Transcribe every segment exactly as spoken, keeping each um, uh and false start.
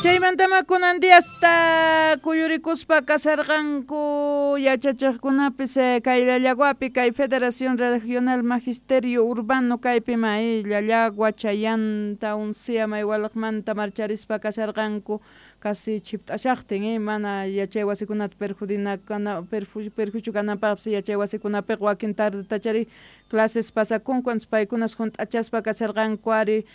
Chaymantama kunan diasta kuyurikuspa kasarqanku yachachiqkunapis kay Llallaguapi kay Federación Regional Magisterio Urbano kaypima Llallagua Chayanta Uncia Maywalaqmanta marcharispa kasarqanku casi chipt'ashaqtin eh, mana yachay wasikunata perjudina kana perjuicio kananpaqpis yachay wasikunapiqa wakin tardetachari clases pasakunku entonces paykunas hunt'achaspa kasarqanku ari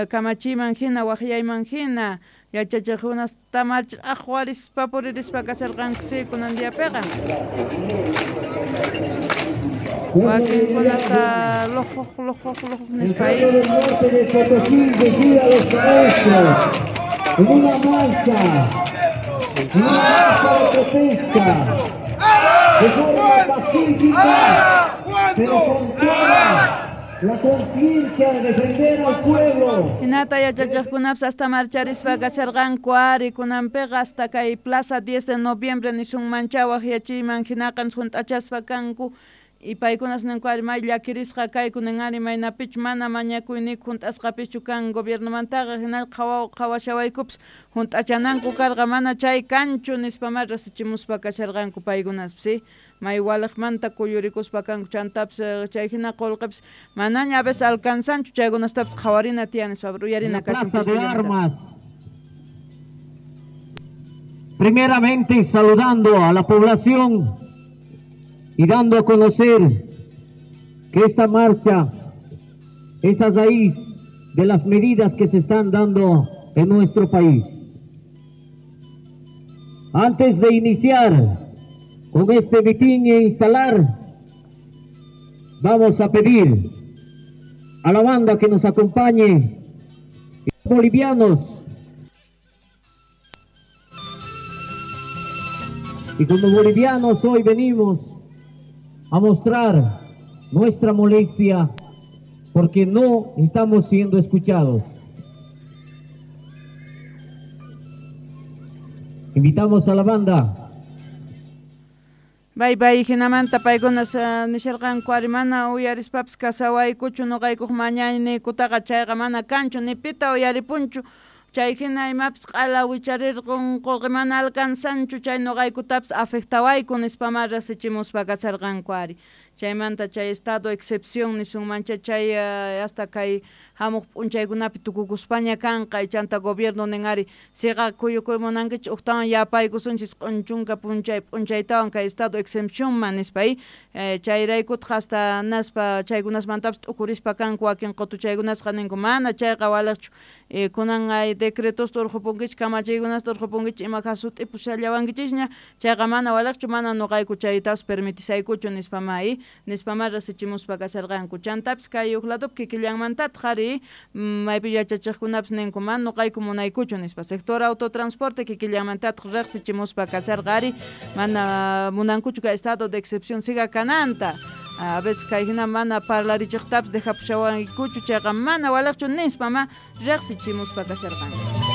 kamachiman hina waqyayman hina yachachiqkunasta march'aqwarispa puririspa kasarqanku si kunan diapiqa wakinkunata lujuj lujuj lujuj nispa En una marcha, en una marcha de protesta, de forma pacífica, pero con toda la conciencia de defender al pueblo. Hinata yachachiqkunapis hasta marcharispa kasharqanku ari kunanpiqa hasta kay Plaza diez de noviembre nisunmancha waqyachiyman hinaqa hunt'achaspa kanku y paykunas ninku ari may llakirisqa kayku nin ari maynapichu mana mañakuyniku hunt'asqapichu kan gobiernomantaqa hinal qhawa qhawashawaykupis hunt'achananku karqa mana chay kanchu nispa ma rasichimuspa kasharqanku paykunaspis si may waliqmanta kuyurikuspa kanku chantapis chay hina qullqipis manaña a veces alcanzanchu chaykunastapis qhawarina tiyan nispa uyarina kachun. Plaza de Armas. Primeramente saludando a la población y dando a conocer que esta marcha es a raíz de las medidas que se están dando en nuestro país. Antes de iniciar con este mitin e instalar, vamos a pedir a la banda que nos acompañe, bolivianos, y como bolivianos hoy venimos a mostrar nuestra molestia porque no estamos siendo escuchados. Invitamos a la banda. Bye bye, hinamanta paykunas nisharqanku ari mana uyarispapis kasawaykuchu nuqaykuq mañayniykutaqa chayqa mana kanchu ni pita uyaripunchu chay hina imapis q'ala wicharirqun qullqi mana alcanzanchu chay nuqaykutapis afectawayku nispa ma rasichimuspa kasarqanku ari chaymanta chay estado excepción nisunmancha chay hasta kay hamuq p'unchaykunapi tukukuspaña kanqa chanta gobierno nin ari siqa kuyukuy munankichik uqtawan yapaykusunchis q'unchunka p'unchay p'unchaytawan kay estado excepcionman nispa chayraykutaq hasta naspa chaykunasmantapis t'ukurispa kanku wakin qutuchaykunasqa ninku mana chayqa waliqchu kunan ay decretosta urqupunkichik kamachiykunasta urqupunkichik ima jasut'ipushallawankichikña chayqa mana waliqchu mana nuqayku chaytapas permitisaykuchu nispa ma nispa ma rasichimuspa kasharqanku chantapis kay huk ladopi kikillanmantataq ari maypi yachachiqkunapis ninku mana nuqayku munaykuchu nispa sector autotransporte kikillanmantataq riqsichimuspa kasharqa ari mana munankuchu kay estado de excepción siga kananta a veces kay hina mana parlarichiqtapis dejapushawankuchu chayqa mana waliqchu nispa ma riqsichimuspa kasharqanku.